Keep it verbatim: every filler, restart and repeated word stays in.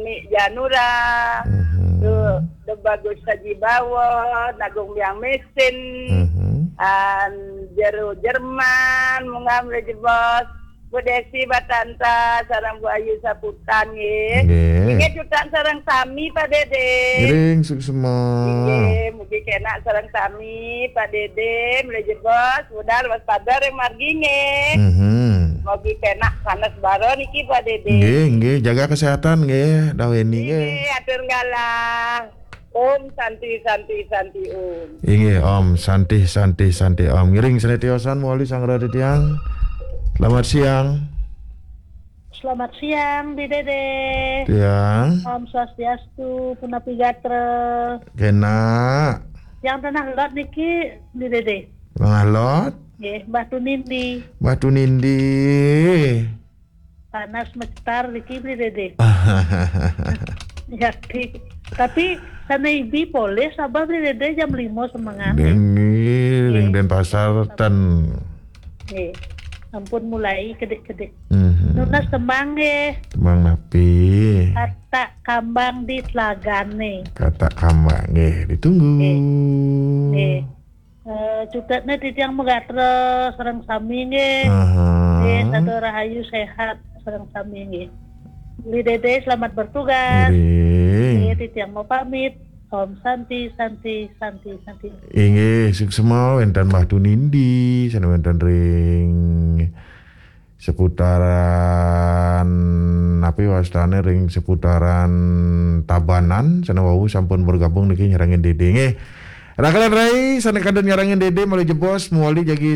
Ni Janura, Mhm. tu, De Bagus Saji Bawon, Agung Biang Mesin, Mhm. an Jeru Jerman, Mungam Rejebos, Bu Desi Batanta, sareng Bu Ayu Saputan, nggih. Nggih. Nggih, cutan sareng sami, Pak Dede. Ngiring suksma. Nggih, mugi kenak sareng sami, Pak Dede, Rejebos, budal waspada ring margi, nggih. Mhm. Mugi kenak sanes baro niki, Pak Dede. Nggih, nggih, jaga kesehatan nggih, Daweni nggih. Nggih, atur galah. Om Santi, Santi, Santi, Om. Inggih, Om Santi, Santi, Santi, Om. Ngiring sane tiosan mawali sang rada tiang. Selamat siang. Selamat siang, Bi Dede. Tiang. Om Swastiastu, punapi gatra. Kenak. Yang tanah lot niki, Bi Dede. Mangalot. Nggih, Mbah Tunindi. Mbah Tunindi. Panas mecetar niki, Bi Dede. Ya, Bi. Tapi sana ibi boleh sabar, Bi Dede, jam lima semengan. Nggih, ring Denpasar ten. Nggih. Ampun mulai kedik-kedik. Mhm. Nunas tembang nggih. Tembang napi? Katak Kambang di Telagane. Katak Kambang nggih, ditunggu. Nggih. Eh, cuketne titiang magatra sareng sami nggih. Aha. Nggih, sada rahayu sehat sareng sami nggih. Bi Dede, selamat bertugas. Ngiring. Nggih, titiang mau pamit. Om Santi, Santi, Santi, Santi. Inggih, suksma wenten Mbah Tunindi, sane wenten ring seputaran, napi wastane, ring seputaran Tabanan, sane wau sampun bergabung niki nyarengin Dede nggih. Rakalan rai sane kantun nyarengin Dede malih jebos, mawali jagi